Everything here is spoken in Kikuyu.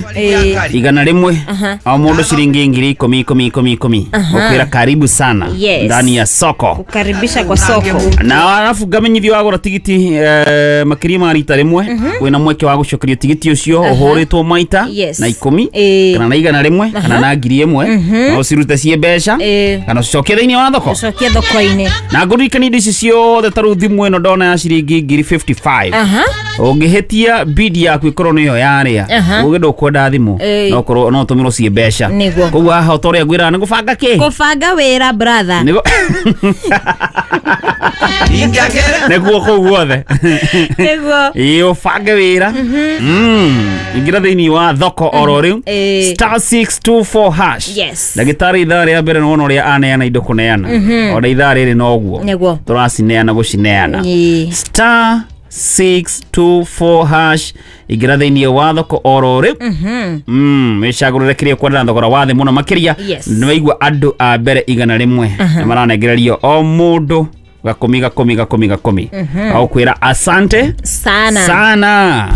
100 o mundu ciringi 10,000 10 10 10 ukwira karibu sana. Yes. Ndani ya soko. Kukaribisha kwa soko. Na arabu ngamenyithio wagũra tigiti makĩria ma rita rĩmwe, wĩna mweke wa gũcokerio tigiti ũcio ũhũrĩtwo maita Yes. na 10 kana na 100 kana na 1,000, na ũcirute ciĩ mbeca kana ũcicokie thĩinĩ wa thoko. Ucokie thoko-inĩ. Na ngũririkania indo ici ciothe ta rĩu thimũ ĩno ndona ya ciringi 55,000, ũngĩhĩtia bidi yaku ĩkorwo nĩyo yarĩa, ũgĩ ndũkwenda thimũ, no korwo no ũtũmĩrwo ciĩ mbeca. Nĩguo. Koguo haha ũta ũrĩa ngwĩraga nĩ gũbanga kĩ. Kũbanga wĩra, brother. Nĩguo kũu guothe. Nĩguo. Ĩĩ, ũbange wĩra. Ingĩra thĩinĩ wa thoko oro rĩu, *624#. Yes. Ndagĩtarĩ, ithaa rĩa mbere nĩwona ũrĩa aneana indo kũneana, ona ithaa rĩrĩ noguo. Nĩguo. Tũracineana gũcineana. *624#, ingĩra thĩinĩ wa thoko oro rĩu, wĩcagũrĩre kĩrĩa ũkwenda na thogora wa thĩ mũno makĩria. Yes. Nĩwaigua andũ a mbere 100 nĩ maranengererio o mũndũ 10 10 10 10, agũkwĩra asante Sana. sana.